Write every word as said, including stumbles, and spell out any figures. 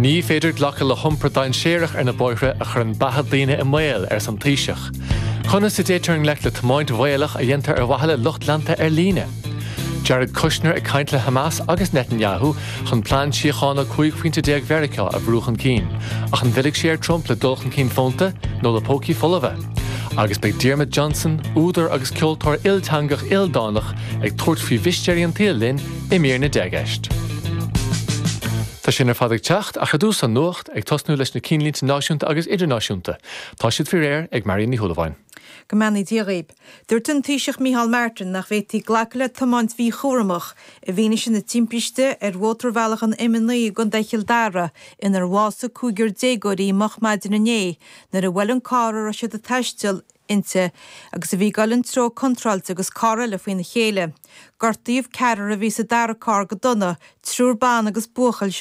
Ní féidir glacadh le hiompar dainséarach ar na bóithre a chuireann beatha daoine i mbaol arsa an Taoiseach. Conas a dtéitear i ngleic le tiomáint bhaolach a dhéantar ar mhaithe le lucht leanta ar líne. Jared Kushner ag caint le Hamas agus Netanyahu chun plean síochána cúig phointe déag Mheiriceá a bhrú chun cinn, ach an bhfillfidh sé ar Trump le dul chun cinn fónta nó le pócaí folmha. Agus beidh Diarmuid Johnson, údar agus ceoltóir ilteangach ildánach ag tabhairt faoi mhistéirí an tsaoil linn i mír na ndeich gceist. Tá sin ar fad ag teacht ach ar dtús an nuacht ag tosnú leis na cinnlínte náisiúnta agus idirnáisiúnta. Tá siad faoi réir ag Marion Ní Shúilleabháin. Go mbeannaí Dia dhaoibh. Dúirt an Taoiseach Micheál Martin nach bhféadfaí glacadh le tiomáint mhíchúramach i bhfianaise na timpiste ar mhótarbhealach an M naoi i gContae Chill Dara inar bhásaigh cúigear déagóirí moch maidin inné nuair a bhuail an carr a raibh siad ag taisteal inti agus a bhí ag dul an treo contráilte agus carr eile faoina chéile. Gortaíodh ceathrar a bhí sa dara carr go dona, triúr ban agus buachaill